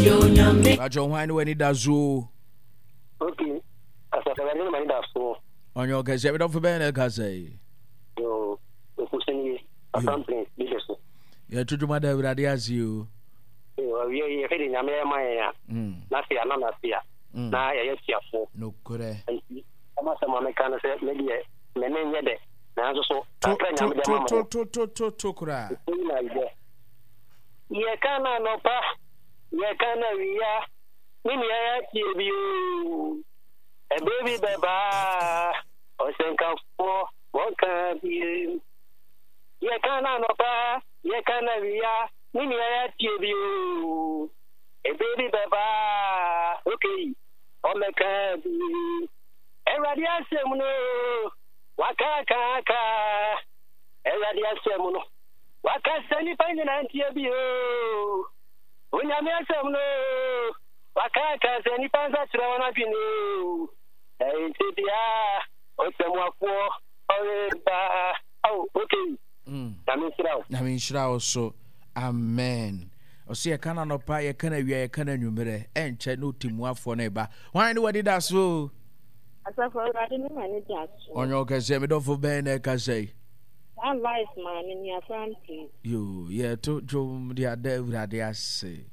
Pakyɛ hwan ne w'ani da so? Okay, asafo awurade ne m'ani da so. Ɔnyɛ ɔkɛseɛ me dɔfo bɛn na ɛka sɛ yi? Yo, okusi nie, Asampene, bi so. Yɛto dwuma da awurade ase o. Awie yi, yɛhwɛ de nyame ɛma yɛn a, mm. na se ana na se a, mm. na yɛyɛ tiafoɔ. Nokorɛ. Nti, ɛma sɛ ma meka no sɛ, me deɛ, me ne nyɛ dɛ, nanso so, kakra nyame dɛ ma mo. To, to, to, to, to koraa. Yɛka no anɔpa, yɛka no awia, me nua yɛatie bi o. Ɛberɛ bi bɛba a, ɔsɛnkafoɔ wɔka bi. Yɛka no anɔpa, yɛka no awia, me nua yɛatie bi o. Ɛberɛ bi bɛba a, okay, ɔmmɛka bi. Awurade asɛm no, waka ka ka. Awurade asɛm no. Waka sɛ nnipa nyinaa ntie bi oo. Onyame asɛm no oo. Waka aka sɛ nnipa nsakyera wɔn adwene oo. Ɛnkyɛ biara ɔtɛmmuafoɔ ɔreba. Ao, okay. Mm. Nyame nhyira wo. Nyame nhyira wo so. Amen. Ɔsɛ yɛka no anɔpa, yɛka no awia, yɛka no anwummerɛ. Ɛnkyɛ na ɔtɛmmuafoɔ no reba. Hwan ne wadi da so? Asafo Awurade ne m'ani da so. Ɔnyɛ ɔkɛseɛ, me dɔfo bɛn na ɛkasa yi? Saa life maame ni afra mpire. Yoo yɛto dwom de ada awurade ase.